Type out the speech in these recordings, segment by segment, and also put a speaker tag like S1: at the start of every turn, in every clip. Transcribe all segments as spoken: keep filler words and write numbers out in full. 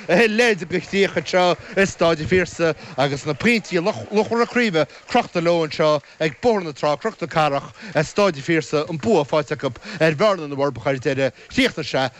S1: a leithéid de chríoch anseo i Staid an Phiarsaigh agus na pointí luachmhara craoibhe crochta leo anseo ag Bóthar na Trá, Cnoc na Cathrach, Staid an Phiarsaigh, an bua faighte acu ar Bhearna na bhForbacha ar deireadh. Chríochnaigh sé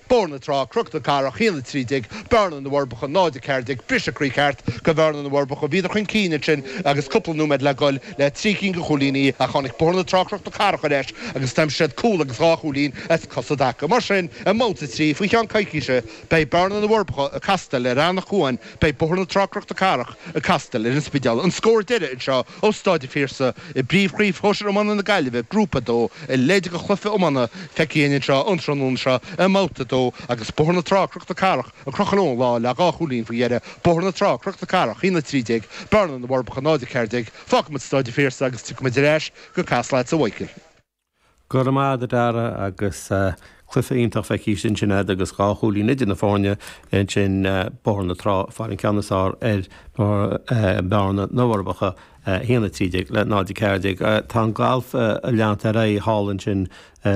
S1: Bóthar na Trá, Cnoc na Cathrach, a haon a trí déag, Bearna na bhForbacha, náid a ceathair déag, briseadh croí ceart go Bhearna na bhForbacha. Bhíodar chun cinn ansin agus cúpla nóiméad le goil le trí cinn de chúilíní ach tháinig Bóthar na Trá, Cnoc na Cathrach ar ais agus d'aimsigh siad cúl agus dhá chúilín as cos i dtaca. Mar sin, i mbabhta a trí, faoi cheann coicíse, beidh Bearna na bhForbacha ag castáil ar Eanach Cuain, beidh Bóthar na Trá, Cnoc na Cathrach ag castáil ar an Spidéal. An scór deiridh anseo ó Staid an Phiarsaigh i bPríomhchraobh Shóisir Iomána na Gaillimhe, Grúpa a dó, a leithéid de chluiche iomána feicthe againn anseo an tráthnóna seo i mbabhta a dó agus Bóthar na Trá, Cnoc na Cathrach ag crochadh leo an lá le dhá chúilín faoi dheireadh, Bóthar na Trá, Cnoc na Cathrach, a haon a trí déag, Bearna na bhForbacha, náid a ceathair déag. Fágfaimid Staid an Phiarsaigh agus tiocfaimid ar ais go Casla leatsa a Mhichael.
S2: Go raibh maith agat a Dara agus cluiche iontach feicthe ansin agat agus dhá chúilín idir na foirne ansin, Bóthar na Trá ag fáil an ceann is fearr ar Bhearna na bhForbacha, a haon a trí déag le náid a ceathair déag. Tá an galf ag leanacht ar aghaidh thall ansin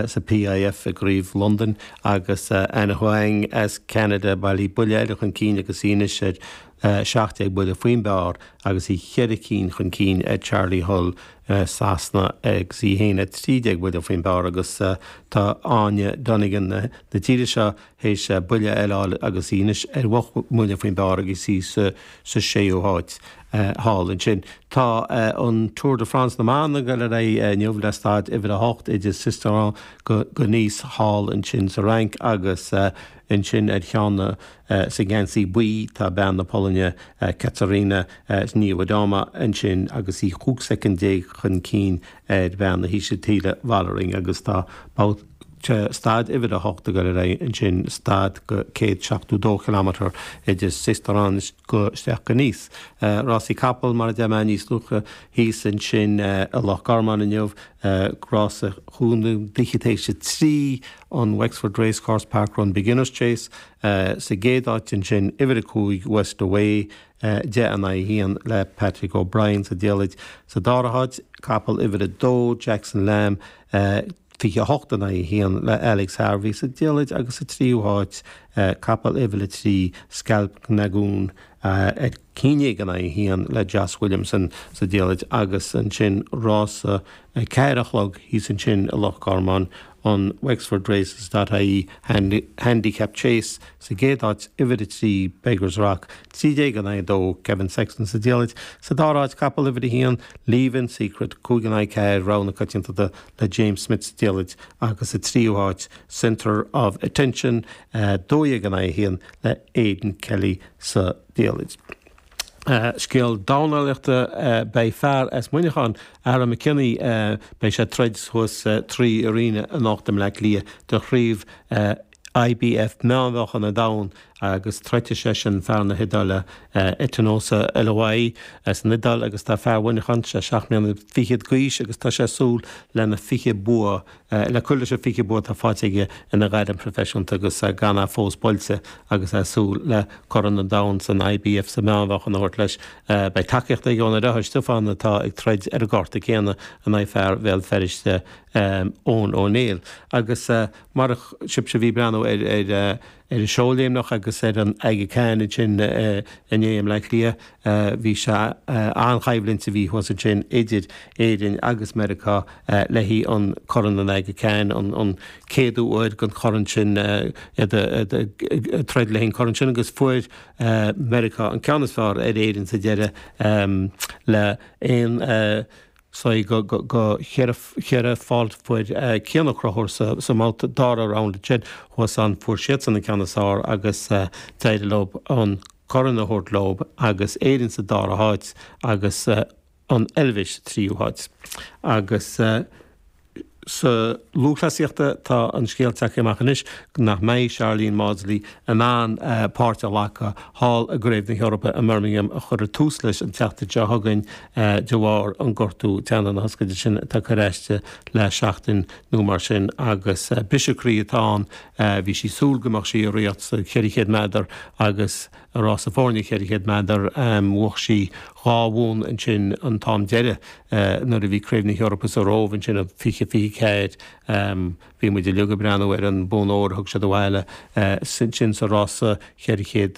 S2: sa P I F i gCraobh Londain agus Anna Huang as Ceanada bailithe buille eile chun cinn agus í anois ar seacht déag buille faoin bpar agus í cheithre cinn chun cinn ar Charley Hull Sasana agus í féin ar trí déag buille faoin bpar agus tá Áine Donegan na tíre seo théis buille eile a fháil agus í anois ar ocht mbuille faoin bpar agus í sa séú háit thall ansin. Tá an Tour de France na mban ag dul ar aghaidh inniu le staid uimhir a hocht idir Sisteron go Nice thall ansin sa Fhrainc agus ansin ar cheann na sa gheansaí buí tá bean na Polainne Katarzyna Niewiadoma ansin agus í chúig soicind déag chun cinn ar bhean na hÍsiltíre Vollering agus tá staid uimhir a hocht ag dul ar aghaidh ansin, staid go céad seachtó dó kilometre idir Sisteron go isteach go Nice. Rásaí capall mar a deir mé níos luaithe thíos ansin i Loch Garman inniu, rása chúig d'fhichid théis a trí, an Wexford Racecourse Parkrun Beginners Chase. Sa gcéad áit ansin uimhir a cúig West Away, deich in aghaidh a haon le Patrick O'Brien sa diallait. Sa dara háit capall uimhir a dó Jackson Lamb, fiche a hocht in aghaidh a haon le Alex Harvey sa diallait agus sa tríú háit capall uimhir a trí Scalp Nagoon ar ceathair déag in aghaidh a haon le Joss Williamson sa diallait agus ansin rása a ceathair a chlog thíos ansin i Loch Garman, an Wexford Races dot I E Handicap Chase, sa gcéad áit uimhir a trí Beggars Rock, trí déag in aghaidh a dó, Kevin Sexton sa diallait. Sa dara háit capall uimhir a haon Leave-In Secret, cúig in aghaidh ceathair, rogha na coitiantachta le James Smith sa diallait agus sa tríú háit Centre of Attention, dó dhéag in aghaidh a haon le Aidan Kelly sa diallait. Scéal dornálaíochta, beidh fear as Muineachán, Aaron McKinney, beidh sé ag troid thuas sa Three Arena anocht i mBleá Cliath do chraobh I B F meánmheáchan an domhain agus troidfidh seisean fear na hIodáile Etinosa Olowaye as an Iodáil agus tá fear Mhuineacháin, sé seacht mbliana fichead d'aois agus tá sé ag súil lena fiche bua le cur leis an fiche bua atá faighte aige ina ghairm phroifisiúnta agus gan é fós buailte agus é ag súil le Corn an Domhain san I B F sa meánmheáchan a thabhairt leis. Beidh tacaíocht aige óna dheartháir Stiofán atá ag troid ar an gcárta céanna in aghaidh fear Bhéal Feirste Eoin Ó Néill. Agus mar sibhse a bhí ag breathnú ar ar ar an seóléimneach agus ar an Aga Khan ansin inné i mBleá Cliath, bhí sé an-choimhlint a bhí thuas ansin idir Éirinn agus Meiriceá le haghaidh an Corn an Aga Khan, an céadú uair den chorn sin, iad ag troid le haghaidh an corn sin agus fuair Meiriceá an ceann is fearr ar Éirinn sa deireadh le aon saoi go cheithre pholt. Fuair Cian Ó Conchúir sa mbabhta dara round ansin thuas ann, fuair siadsan an ceann is fearr agus d'éirigh leo an corn a thabhairt leo agus Éirinn sa dara háit agus an Eilvéis sa tríú háit. Agus sa lúthchleasaíochta tá an scéal tagtha amach anois nach mbeidh Sharlene Mawdsley in ann páirt a ghlacadh thall i gCraobh na hEorpa i mBirmingham a chuirfear tús leis an tseachtain seo chugainn de bharr an gortú teannán na hioscaide sin atá curtha aisti le seachtain nó mar sin agus briseadh croí atá ann. Bhí sí ag súil go mbeadh sí i riocht sa cheithre chéad méadar agus i rás foirne cheithre chéad méadar. Bhuaigh sí dhá bhonn ansin an t-am deiridh nuair a bhí Craobh na hEorpa sa Róimh ansin i fiche fiche ceathair. Bhí muid uilig ag breathnú ar an bonn óir a thug siad abhaile ansin sa rása cheithre chéad.